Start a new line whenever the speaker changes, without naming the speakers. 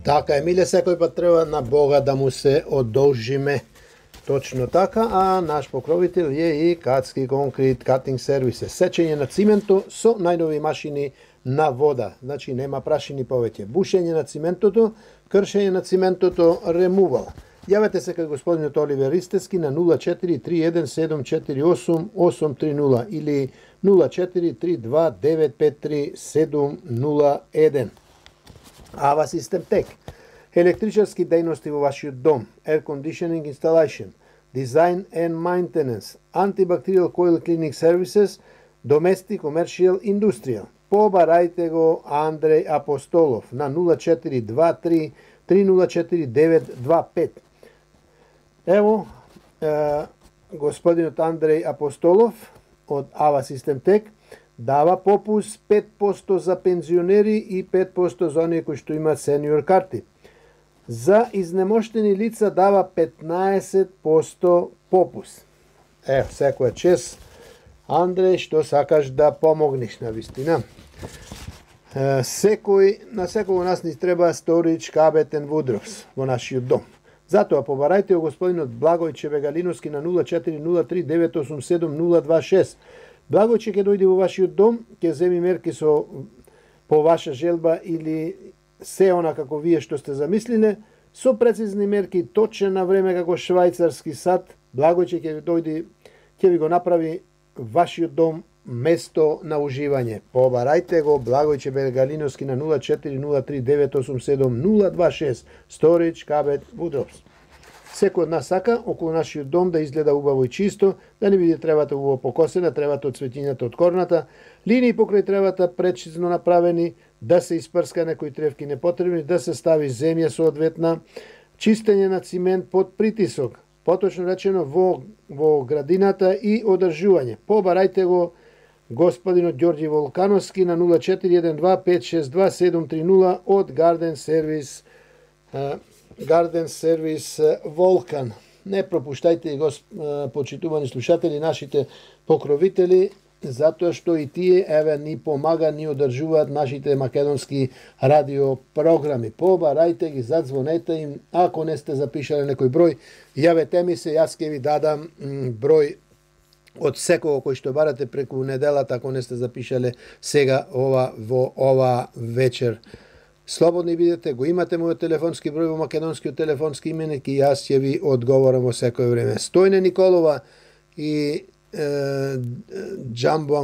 Така, Емиле, секој пат треба на Бога да му се одолжиме. Точно така, а наш покровител е и Кацки Конкрет Cutting Services. Сечење на цименту со најнови машини на вода. Значи нема прашини повеќе. Бушење на циментото, кршење на циментото, ремувал. Јавете се кај господинот Оливер Ристески на 0431748830 или 0432953701. Ава Систем Тек. Електричарски дејности во вашиот дом, air conditioning installation, design and maintenance, antibacterial coil cleaning services, domestic, commercial, industrial. Побарајте го Андреј Апостолов на 0423 304925. Ево, господинот Андреј Апостолов од Ава Систем Тек дава попус 5% за пензионери и 5% за оние кои што имаат сениор карти. За изнемоштени лица дава 15% попус. Ево, секоја чест, Андреј, што сакаш да помогнеш на вистина. На секој нас ни треба Storage Cabet and Woodrows во нашиот дом. Затоа побарајте го господинот Благој Чебегалиновски на 0403 987 026. Благојче ќе дојде во вашиот дом, ќе земи мерки по ваша желба или се она како вие што сте замислиле, со прецизни мерки, точно на време како швајцарски сад. Благојче ќе дојде, ќе ви го направи вашиот дом место на уживање. Побарајте го Благојче Бегалиновски на 0403 987 026. Storage Cabet Woodrows. Секој од нас сака околу нашиот дом да изгледа убаво и чисто, да не биде тревата убаво покосена, тревата од цветињата од корната, линии покрај тревата прецизно направени, да се испрска некои тревки непотребни, да се стави земја соодветна, чистење на цимент под притисок, поточно речено во градината и одржување. Побарајте го господинот Ѓорѓи Волкановски на 0412 562 730 од Garden Service Волкан. Не пропуштајте го, почитувани слушатели, нашите покровители, затоа што и тие ни помага, ни одржуваат нашите македонски радиопрограми. Побарајте ги, задзвонете им, ако не сте запишале некој број, јавете ми се, јас ќе ви дадам број од секого кој што барате преку неделата, ако не сте запишале сега во ова вечер. Слободни бидете, го имате мојот телефонски број во македонскиот телефонски именик и јас ќе ви одговорам во секој време. Стојне Николова и Джамбо